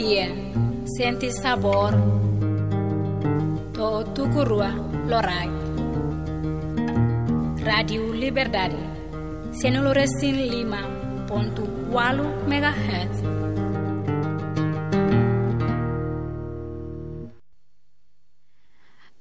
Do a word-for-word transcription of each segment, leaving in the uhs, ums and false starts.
Iya, sente sabór to'o tuku rua loraik. Rádiu Liberdade, sianulu resin lima pontu ualu megahertz.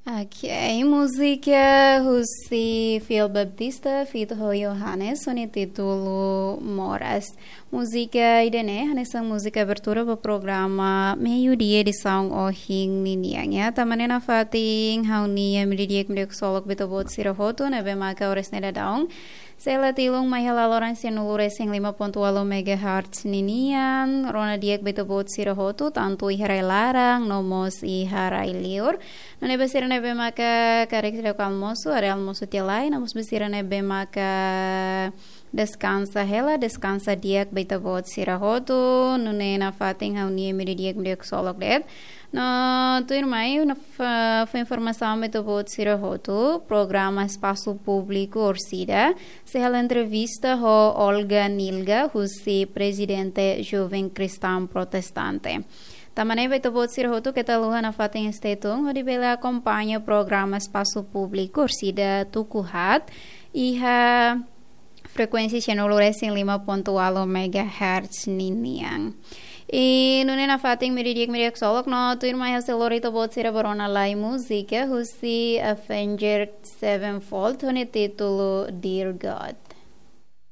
Ok, múzika husi Phil Baptista feat ho Johannes, ho nia títulu Moras. Múzika ida-ne'e hanesan múzika abertura ba programa Meiudia edisaun ohin ninian, ya. Tanba ne'e nafatin ha'u-nia meiudia di'ak, meiudia ksolok ba ita-boot sira hotu ne'ebé maka oras ne'e daudaun sei hela tilun mai hela loron sianulu resin lima pontu ualu megahertz ninian. Rona di'ak ba ita-boot sira hotu, tantu iha rai-laran no mós iha rai-liur. Nune'e ba sira ne'ebé maka karik seidauk almosu, haree almosu tiha lai, no mós ba sira ne'ebé maka deskansa hela, deskansa di'ak ba ita-boot sira hotu. Nune'e nafatin ha'u-nia meiudia di'ak, meiudia ksolok de'it. No tuirmai, no fó, fó informasaun ba ita-boot sira hotu, programa Espasu Públiku Orsida sei halo entrevista ho Olga Nilga, husi Prezidente Joven Kristaun Protestante. Tanba ne'e ba ita-boot sira hotu keta haluha nafatin stay tune hodi bele akompaña programa Espasu Públiku Orsida tuku haat iha frekuénsia sianulu resin lima pontu ualu megahertz ninian. I nune'e nafatin meiudia di'ak, meiudia ksolok, no tuirmai ha'u sei lori ita-boot sira ba rona lai múzika husi Avenged Sevenfold ho nia títulu Dear God.